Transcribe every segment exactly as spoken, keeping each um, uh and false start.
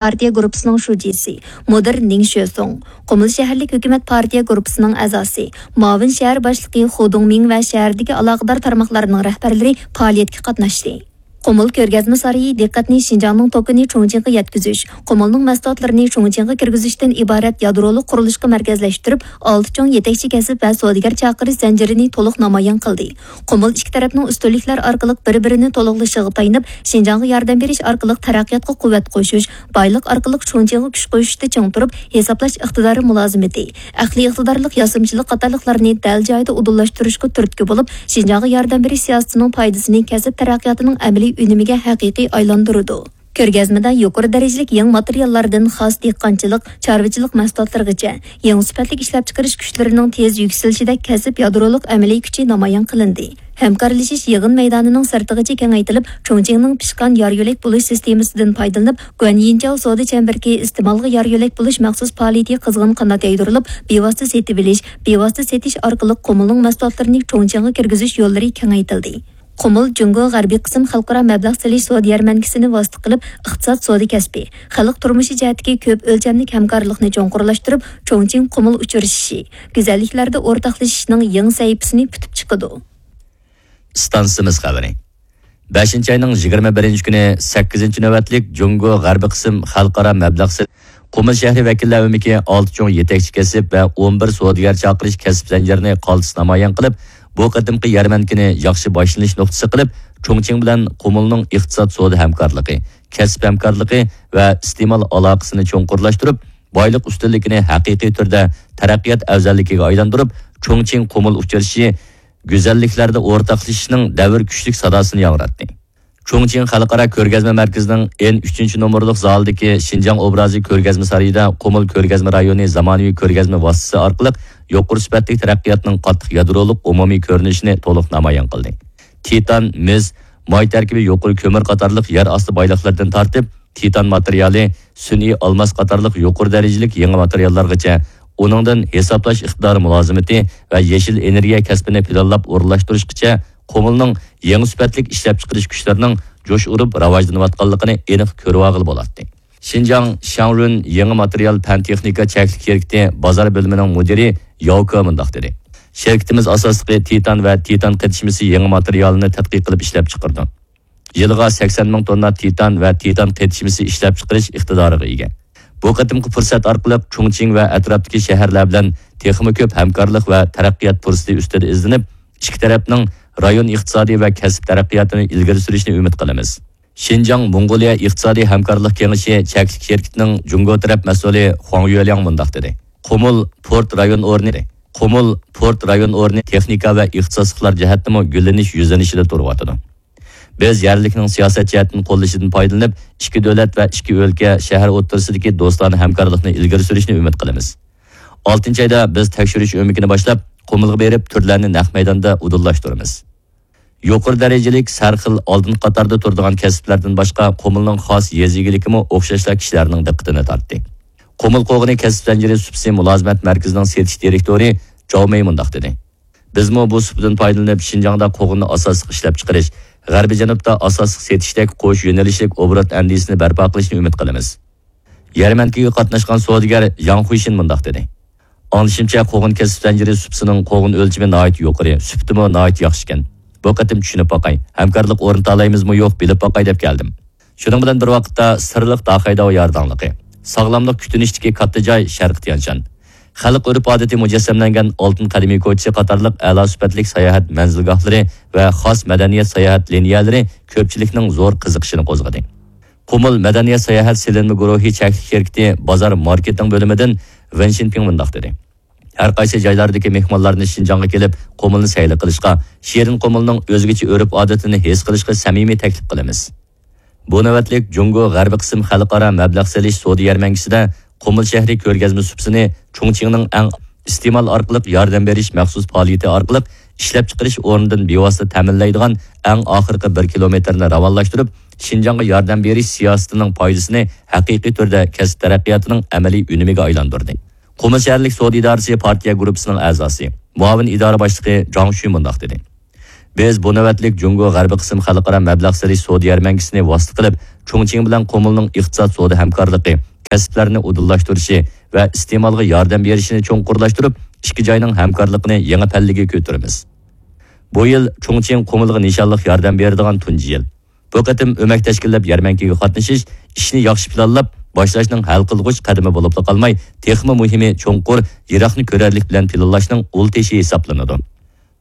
پارتىيە گۇرۇپپىسىنىڭ شۇجىسى مۇدىر نىڭ شۆسۇڭ، قۇمۇل شەھەرلىك ھۆكۈمەت پارتىيە گۇرۇپپىسىنىڭ ئەزاسى، مۇئاۋىن شەھەر باشلىقى خۇ دۇڭمىڭ ۋە شەھەردىكى ئالاقىدار تارماقلارنىڭ رەھبەرلىرى پائالىيەتكە قاتناشتى. قۇمۇل كۆرگەزمە سارىيى دىققەتنى شىنجاڭنىڭ توكىنى چۇڭچىڭغا يەتكۈزۈش، قۇمۇلنىڭ مەھسۇلاتلىرىنى چۇڭچىڭغا كىرگۈزۈشتىن ئىبارەت يادرولۇق قۇرۇلۇشقا مەركەزلەشتۈرۈپ، ئالتە چوڭ يېتەكچى كەسىپ ۋە سودىگەر چاقىرىش زەنجىرىنى تولۇق نامايان قىلدى. قۇمۇل ئىككى تەرەپنىڭ ئۈستۈنلۈكلەر ئارقىلىق بىر-بىرىنى تولۇقلىشىغا تايىنىپ، شىنجاڭغا ياردەم بېرىش ئارقىلىق تەرەققىياتقا قۇۋۋەت قوشۇش، بايلىق ئارقىلىق چۇڭچىڭغا كۈچ قوشۇشتا چىڭ تۇرۇپ، ھېسابلاش ئىقتىدارى مۇلازىمىتى، ئەقلىي ئىقتىدارلىق ياسىمىچىلىق قاتارلىقلارنى دەل جايىدا ئۇدۇللاشتۇرۇشقا تۈرتكە بولۇپ، شىنجاڭغا ياردەم بېرىش سىياسىتىنىڭ پايدىسىنى كەسىپ تەرەققىياتىنىڭ ئەمەلىي ئۈنۈمىگە ھەقىقىي ئايلاندۇرىدۇ. كۆرگەزمىدە يۇقىرى دەرىجىلىك يېڭى ماتېرىياللاردىن خاس دېھقانچىلىق، چارۋىچىلىق مەھسۇلاتلىرىغىچە يېڭى سۈپەتلىك ئىشلەپچىقىرىش كۈچلىرىنىڭ تېز يۈكسىلىشىدەك كەسىپ يادرولۇق ئەمەلىي كۈچى نامايان قىلىندى. ھەمكارلىشىش يىغىن مەيدانىنىڭ سىرتىغىچە كېڭەيتىلىپ، چۇڭچىڭنىڭ پىشقان يار يۆلەك بولۇش سىستېمىسىدىن پايدىلىنىپ، گۇەنيىنجياۋ سودا چەمبىرىكى ئىستېمالغا يار يۆلەك بولۇش مەخسۇس پائالىيىتى قىزغىن قانات يايدۇرۇلۇپ، بىۋاسىتە سېتىۋېلىش، بىۋاسىتە سېتىش ئارقىلىق قۇمۇلنىڭ مەھسۇلاتلىرىنى چۇڭچىڭغا كىرگۈزۈش يوللىرى كېڭەيتىلدى. قۇمۇل جۇڭگو غەربىي قىسىم خەلقئارا مەبلەغ سېلىش سودا يەرمەنكىسىنى ۋاسىتە قىلىپ، ئىقتىساد، سودا كەسپى، خەلق تۇرمۇشى جەھەتتىكى كۆپ ئۆلچەملىك ھەمكارلىقنى چوڭقۇرلاشتۇرۇپ، چۇڭچىڭ قۇمۇل ئۇچرىشىشى، گۈزەللىكلەردە ئورتاقلىشىشنىڭ يېڭى سەھىپىسىنى پۈتۈپ چىقىدۇ. ئىستانسىمىز خەۋىرى. بەشىنچى ئاينىڭ يىگىرمە بىرىنچى كۈنى سەككىزىنچى نۆۋەتلىك جۇڭگو غەربىي قىسىم خەلقئارا مەبلەغ سېلىش قۇمۇل شەھىرى ۋەكىللەر ئۆمىكى ئالتە چوڭ يېتەكچى كەسىپ ۋە ئون بىر سودىگەر چاقىرىش كەسىپ زەنجىرىنى قالتىس نامايان قىلىپ، بۇ قېتىمقى يەرمەنكىنى ياخشى باشلىنىش نۇقتىسى قىلىپ، چۇڭچىڭ بىلەن قۇمۇلنىڭ ئىقتىساد، سودا ھەمكارلىقى، كەسىپ ھەمكارلىقى ۋە ئىستېمال ئالاقىسىنى چوڭقۇرلاشتۇرۇپ، بايلىق ئۈستۈنلۈكىنى ھەقىقىي تۈردە تەرەققىيات ئەۋزەللىكىگە ئايلاندۇرۇپ، چۇڭچىڭ قۇمۇل ئۇچرىشىشى گۈزەللىكلەردە ئورتاقلىشىشنىڭ دەۋر كۈچلۈك ساداسىنى ياڭراتتى. چۇڭچىڭ خەلقئارا كۆرگەزمە مەركىزىنىڭ ئېن ئۈچىنچى نومۇرلۇق زالىدىكى شىنجاڭ ئوبرازى كۆرگەزمە سارىيىدا قۇمۇل كۆرگەزمە رايونى زامانىۋى كۆرگەزمە ۋاسىتىسى ئارقىلىق يۇقىرى سۈپەتلىك تەرەققىياتنىڭ قاتتىق يادرولۇق ئومۇمىي كۆرۈنۈشىنى تولۇق نامايان قىلدى. تىتان، مىس، ماي تەركىبى يۇقىرى كۆمۈر قاتارلىق يەر ئاستى بايلىقلىرىدىن تارتىپ، تىتان ماتېرىيالى، سۈنئىي ئالماس قاتارلىق يۇقىرى دەرىجىلىك يېڭى ماتېرىياللارغىچە، ئۇنىڭدىن ھېسابلاش ئىقتىدارى مۇلازىمىتى ۋە يېشىل ئېنېرگىيە كەسپىنى پىلانلاپ ئورۇنلاشتۇرۇشقىچە، قۇمۇلنىڭ يېڭى سۈپەتلىك ئىشلەپچىقىرىش كۈچلىرىنىڭ جۇش ئۇرۇپ راۋاجلىنىۋاتقانلىقىنى ئېنىق كۆرۈۋالغىلى بولاتتى. شىنجاڭ شياڭرۈن يېڭى ماتېرىيال پەن-تېخنىكا چەكلىك شىركىتى بازار بۆلۈمىنىڭ مۇدىرى ياۋ كې مۇنداق دېدى: شىركىتىمىز ئاساسلىقى تىتان ۋە تىتان قېتىشمىسى يېڭى ماتېرىيالىنى تەتقىق قىلىپ ئىشلەپچىقىرىدۇ. يىلىغا سەكسەن مىڭ توننا تىتان ۋە تىتان قېتىشمىسى ئىشلەپچىقىرىش ئىقتىدارىغا ئىگە. بۇ قېتىمقى پۇرسەت ئارقىلىق چۇڭچىڭ ۋە ئەتراپتىكى شەھەرلەر بىلەن تېخىمۇ كۆپ ھەمكارلىق ۋە تەرەققىيات پۇرسىتى ئۈستىدە ئىزدىنىپ، ئىككى تەرەپنىڭ رايون ئىقتىسادىي ۋە كەسىپ تەرەققىياتىنى ئىلگىرى سۈرۈشىنى ئۈمىد قىلىمىز. شىنجاڭ موڭغۇلىيە ئىقتىسادىي ھەمكارلىق كېڭىشى چەكلىك شىركىتىنىڭ جۇڭگو تەرەپ مەسئۇلى خۇاڭ يۈەلياڭ مۇنداق دېدى: قۇمۇل پورت رايون ئورنى، قۇمۇل پورت رايون ئورنى تېخنىكا ۋە ئىختىساسلىقلار جەھەتتىمۇ گۈللىنىش يۈزلىنىشىدە تۇرۇۋاتىدۇ. بىز يەرلىكنىڭ سىياسەت جەھەتتىن قوللىشىدىن پايدىلىنىپ، ئىككى دۆلەت ۋە ئىككى ئۆلكە، شەھەر ئوتتۇرىسىدىكى دوستانە ھەمكارلىقنى ئىلگىرى سۈرۈشنى ئۈمىد قىلىمىز. ئالتىنچى ئايدا بىز تەكشۈرۈش ئۆمىكىنى باشلاپ، قۇمۇلغا بېرىپ، تۈرلەرنى نەق مەيداندا ئۇدۇللاشتۇرىمىز. يۇقىرى دەرىجىلىك سەرخىل ئالدىنقى قاتاردا تۇرىدىغان كەسىپلەردىن باشقا، قۇمۇلنىڭ خاس يېزا ئىگىلىكىمۇ ئوخشاشلا كىشىلەرنىڭ دىققىتىنى تارتتى. قۇمۇل قوغۇنى كەسىپ زەنجىرى سۇپىسى مۇلازىمەت مەركىزىنىڭ سېتىش دىرېكتورى جاۋ مېي مۇنداق دېدى: بىزمۇ بۇ سۇپىدىن پايدىلىنىپ، شىنجاڭدا قوغۇننى ئاساسلىق ئىشلەپچىقىرىش، غەربىي جەنۇبتا ئاساسلىق سېتىشتەك قوش يۆنىلىشلىك ئوبوروت ئەندىزىسىنى بەرپا قىلىشنى ئۈمىد قىلىمىز. يەرمەنكىگە قاتناشقان سودىگەر ياڭ خۇيشىن مۇنداق دېدى: ئاڭلىشىمچە، قوغۇن كەسىپ زەنجىرى سۇپىسىنىڭ قوغۇن ئۆلچىمى ناھايىتى يۇقىرى، سۈپىتىمۇ ناھايىتى ياخشىكەن. بۇ قېتىم چۈشىنىپ باقاي، ھەمكارلىق ئورنىتالايمىزمۇ يوق، بىلىپ باقاي دەپ كەلدىم. شۇنىڭ بىلەن بىر ۋاقىتتا، سىرلىق داخەيداۋ يارداڭلىقى، ساغلاملىق كۈتۈنۈشتىكى كاتتا جاي شەرقىي تيەنشان، خەلق ئۆرپ-ئادىتى مۇجەسسەملەنگەن ئالتۇن قەدىمىي كوچىسى قاتارلىق ئەلا سۈپەتلىك ساياھەت مەنزىلگاھلىرى ۋە خاس مەدەنىيەت ساياھەت لىنىيەلىرى كۆپچىلىكنىڭ زور قىزىقىشىنى قوزغىدى. قۇمۇل مەدەنىيەت ساياھەت سېلىنما گۇرۇھى چەكلىك شىركىتى بازار ماركېتىڭ بۆلۈمىدىن ۋېن شىنپىڭ مۇنداق دېدى: ھەر قايسى جايلاردىكى مېھمانلارنى شىنجاڭغا كېلىپ، قۇمۇلنى سەيلە قىلىشقا، شېرىن قۇمۇلنىڭ ئۆزگىچە ئۆرپ-ئادىتىنى ھېس قىلىشقا سەمىمىي تەكلىپ قىلىمىز. بۇ نۆۋەتلىك جۇڭگو غەربىي قىسىم خەلقئارا مەبلەغ سېلىش سودا يەرمەنكىسىدە قۇمۇل شەھىرى كۆرگەزمە سۇپىسىنى چۇڭچىڭنىڭ ئەڭ ئىستېمال ئارقىلىق ياردەم بېرىش مەخسۇس پائالىيىتى ئارقىلىق ئىشلەپچىقىرىش ئورنىدىن بىۋاسىتە تەمىنلەيدىغان ئەڭ ئاخىرقى بىر كىلومېتىرنى راۋانلاشتۇرۇپ، شىنجاڭغا ياردەم بېرىش سىياسىتىنىڭ پايدىسىنى ھەقىقىي تۈردە كەسىپ تەرەققىياتىنىڭ ئەمەلىي ئۈنۈمىگە ئايلاندۇردى. قۇمۇل شەھەرلىك سودا ئىدارىسى پارتىيە گۇرۇپپىسىنىڭ ئەزاسى، مۇئاۋىن ئىدارە باشلىقى جاڭ شۈ مۇنداق دېدى: بىز بۇ نۆۋەتلىك جۇڭگو غەربىي قىسىم خەلقئارا مەبلەغ سېلىش سودا يەرمەنكىسىنى ۋاسىتە قىلىپ، چۇڭچىڭ بىلەن قۇمۇلنىڭ ئىقتىساد سودا ھەمكارلىقى، كەسىپلەرنى ئۇدۇللاشتۇرۇشى ۋە ئىستېمالغا ياردەم بېرىشىنى چوڭقۇرلاشتۇرۇپ، ئىككى جاينىڭ ھەمكارلىقىنى يېڭى پەللىگە كۆتۈرىمىز. بۇ يىل چۇڭچىڭ قۇمۇلغا نىشانلىق ياردەم بېرىدىغان تۇنجى يىل. بۇ قېتىم ئۆمەك تەشكىللەپ يەرمەنكىگە قاتنىشىش ئىشنى ياخشى پىلانلاپ باشلاشنىڭ ھەل قىلغۇچ قەدىمى بولۇپلا قالماي، تېخىمۇ مۇھىمى چوڭقۇر، يىراقنى كۆرەرلىك بىلەن پىلانلاشنىڭ ئۇل تېشى ھېسابلىنىدۇ.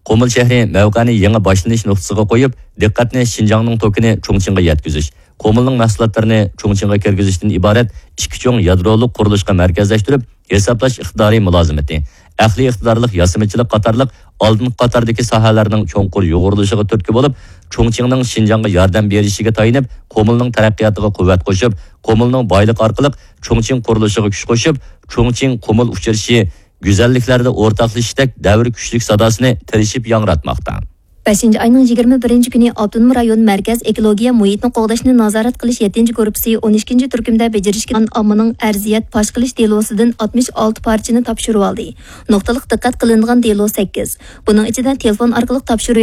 قۇمۇل شەھىرى مەۋقەنى يېڭى باشلىنىش نۇقتىسىغا قويۇپ، دىققەتنى شىنجاڭنىڭ توكىنى چۇڭچىڭغا يەتكۈزۈش، قۇمۇلنىڭ مەھسۇلاتلىرىنى چۇڭچىڭغا كىرگۈزۈشتىن ئىبارەت ئىككى چوڭ يادرولۇق قۇرۇلۇشقا مەركەزلەشتۈرۈپ، ھېسابلاش ئىقتىدارى مۇلازىمىتى، ئەقلىي ئىقتىدارلىق ياسىمىچىلىق قاتارلىق ئالدىنقى قاتاردىكى ساھەلەرنىڭ چوڭقۇر يۇغۇرۇلۇشىغا تۈرتكە بولۇپ، چۇڭچىڭنىڭ شىنجاڭغا ياردەم بېرىشىگە تايىنىپ، قۇمۇلنىڭ تەرەققىياتىغا قۇۋۋەت قوشۇپ، قۇمۇلنىڭ بايلىقى ئارقىلىق چۇڭچىڭ قۇرۇلۇشىغا كۈچ قوشۇپ، چۇڭچىڭ قۇمۇل ئۇچرىشىشى، گۈزەللىكلەردە ئورتاقلىشىشتەك دەۋر كۈچلۈك ساداسىنى تىرىشىپ ياڭراتماقتا. بەشىنچى ئاينىڭ يىگىرمە بىرىنچى كۈنى ئاپتونوم رايون مەركەز ئېكولوگىيە مۇھىتنى قوغداشنى نازارەت قىلىش يەتتىنچى گۇرۇپپىسى ئون ئىككىنچى تۈركۈمدە بېجىرىشكە ئاممىنىڭ ئەرزىيەت پاش قىلىش دېلوسىدىن ئاتمىش ئالتە پارچىنى تاپشۇرۇۋالدى. نۇقتىلىق دىققەت قىلىنىدىغان دېلو سەككىز. بۇنىڭ ئىچىدە تېلېفون ئارقىلىق تاپشۇرۇۋېتىش